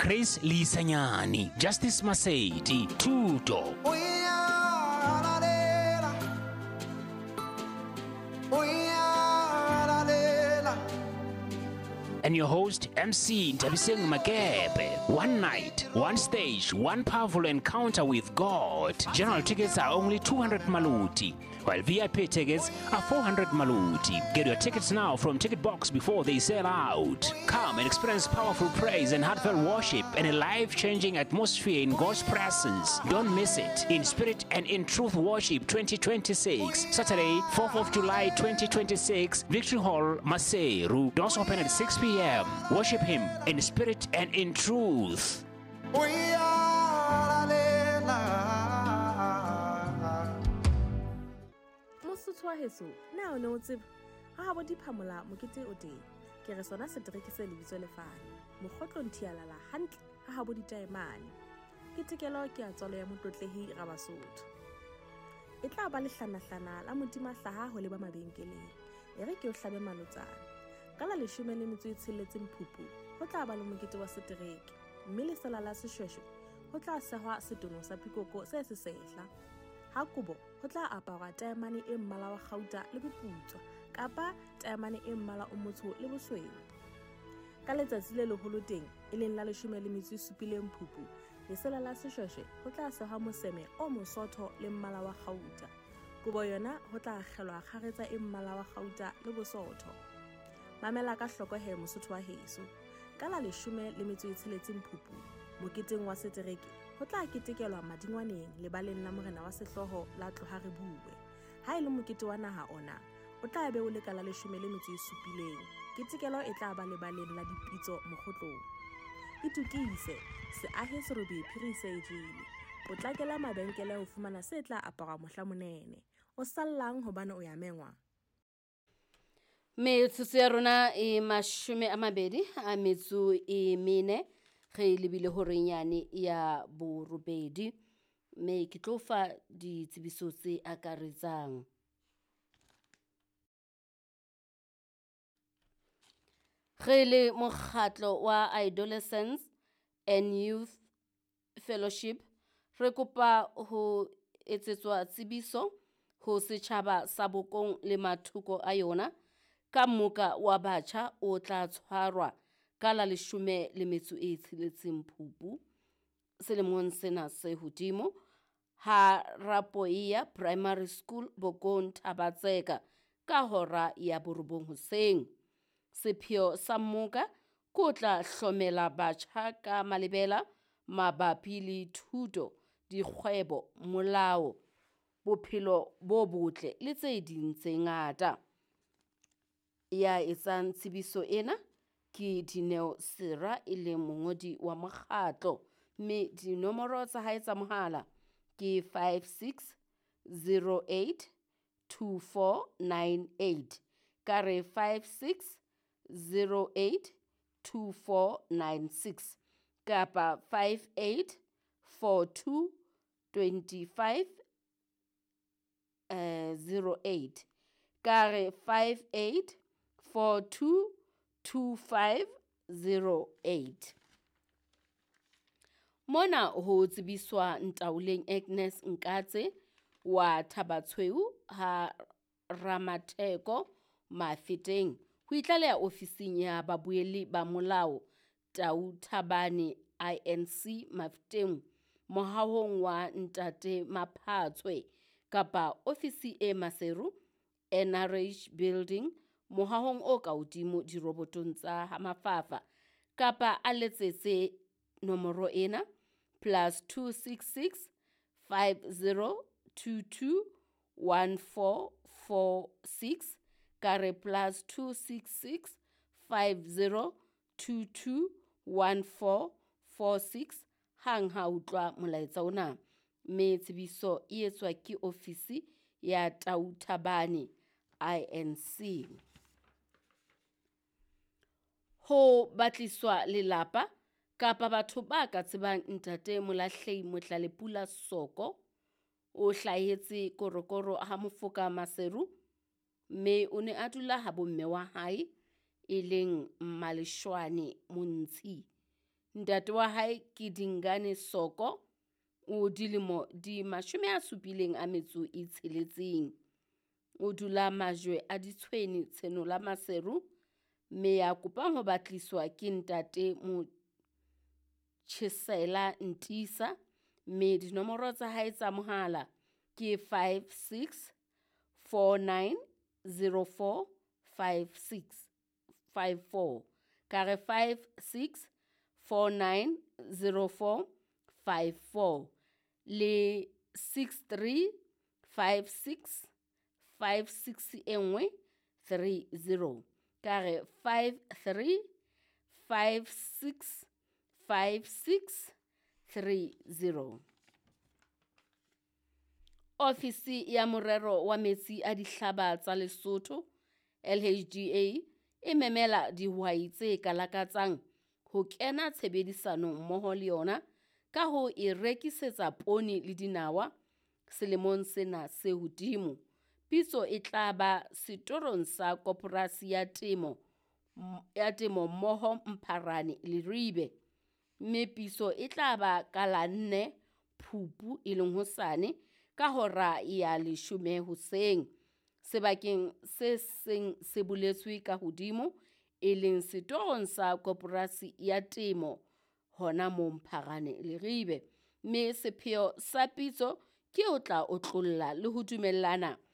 Chris Leisanyane, Justice Masedi, Thuto. And your host, MC Nthabiseng Makepe. One night, one stage, one powerful encounter with God. General tickets are only 200 maluti, while VIP tickets are 400 maluti. Get your tickets now from Ticket Box before they sell out. Come and experience powerful praise and heartfelt worship and a life-changing atmosphere in God's presence. Don't miss it. In Spirit and in Truth Worship 2026, Saturday, 4th of July 2026, Victory Hall, Maseru. Doors open at 6 p.m. Worship Him in spirit and in truth. Mosotho wa heso, na o ne o tseba ha bo diphamola mokete o teng. Ke re sona setereke se lebitso lefane. Mokgotlo nthialala hantle ha bo ditaemane. Ke tekelo ke a tswalo ya motlotlehi Rabasotho. E tla ba lehlanahlana la modima hlaha ho leba mabenkeleng. E re ke o hlabe malotsana. Ka la 16 Phupu ho tla ba le mokete wa setereke, mme lesela la seshweshwe ho tla sehwa setono sa pikoko se sesehla. Ha kobo ho tla aparwa taemane e mmala wa kgauta le boputswa kapa taemane e mmala o motsho le bosweu. Ka letsatsi le leholo teng e leng la 17 Phupu, lesela la seshweshwe ho tla sehwa moseme o mosotho le mmala wa kgauta. Kobo yona ho tla akgelwa kgaretsa e mmala wa kgauta le bosotho. Mamela ka hloko he Mosotho wa heso. Ka la 16 Phupu, moketeng wa setereke ho tla ketekelwa madingwaneng lebaleng la morena wa sehlooho la Tloha Re Bue. Ha e le mokete wa naha ona, o tla be o le ka la 17. Ketekelo e tla ba lebaleng la dipitso mokgotlong. Itukise, se ahe serobe phiri se e jele. Potlakela mabenkele ho fumana se tla aparwa mohla monene. O sallang hobane o ya mengwa. Metsotso ya rona e 24 re lebile horeng yane ya borobedi, mme ke tlo fa ditsebiso tse akaretsang. Re le mokgatlo wa Adolescents and Youth Fellowship re kopa ho etsetswa tsebiso ho setjhaba sa Bokong le mathoko a yona ka moka wa batjha o tla tshwarwa ka la 16 Phupu selemong sena se hodimo ha Rapoia Primary School Bokong Thabatseka ka hora ya 9 hoseng. Sepheo sa moka ko tla hlomela batjha ka malebela mabapi le thuto, dikgwebo, molao, bophelo bo botle le tse ding tse ngata. Ya etsang tsebiso ena ke Dineo Sera e leng mongodi wa mokgatlo, mme dinomoro tsa hae tsa mohala ke 5608 2498. Ka re 5608 2496 kapa 5842 25 08. Ka re 58 42 2508. Mona ho tsebiswa Ntaoleng Agnes Nkatse wa Thabatshweu ha Ramatheko Mafeteng ho itlaleha ofising ya babuelli ba molao Tau Thabane INC Mafeteng mohahong wa Ntate Maphatshwe kapa ofisi e Maseru NRH Building mohahong o ka hodimo dirobotong tsa Hamafafa kapa a letsetse nomoro ena +266 5022 1446 ka re +266 5022 1446 hang ha utlwa molaetsa ona. Mme tsebiso e etswa ke ofisi ya Tau Thabane INC. Ho batliswa lelapa kapa batho ba ka tsebang Ntate Molahlei Motlalepula Soko o hlahetse Korokoro ha Mofoka Maseru, mme o ne a dula ha bomme wa hae e leng Mmaleshwane Montshi. Ntate wa hae ke Dingane Soko, o dilemo di 76. O dula Majwe a Ditshwene Tshenola Maseru, mme ya kopang ho batliswa ke ntate Motjhesela Ntisa, mme dinomoro tsa hae tsa mohala ke 56 49 04 56 54. Ka re 56 49 04 54 le 63 56 56 e nngwe 30. Ka re 53 56 56 30. Ofisi ya Morero wa Metsi a Dihlaba tsa Lesotho LHDA e memela dihwai tse ka lakatsang ho kena tshebedisanong mmoho le yona ka ho e rekisetsa poone le dinawa selemong sena se hodimo. Pitso e tla ba setorong sa Koporasi ya Temo ya Temo mmoho Mpharane Leribe, mme pitso e tla ba ka la 4 Phupu e leng hosane ka hora ya 10 hoseng sebakeng se seng se boletswe ka hodimo e leng setorong sa Koporasi ya Temo hona mo Mpharane Leribe, mme sepheo sa pitso ke ho tla otlolla le ho dumellana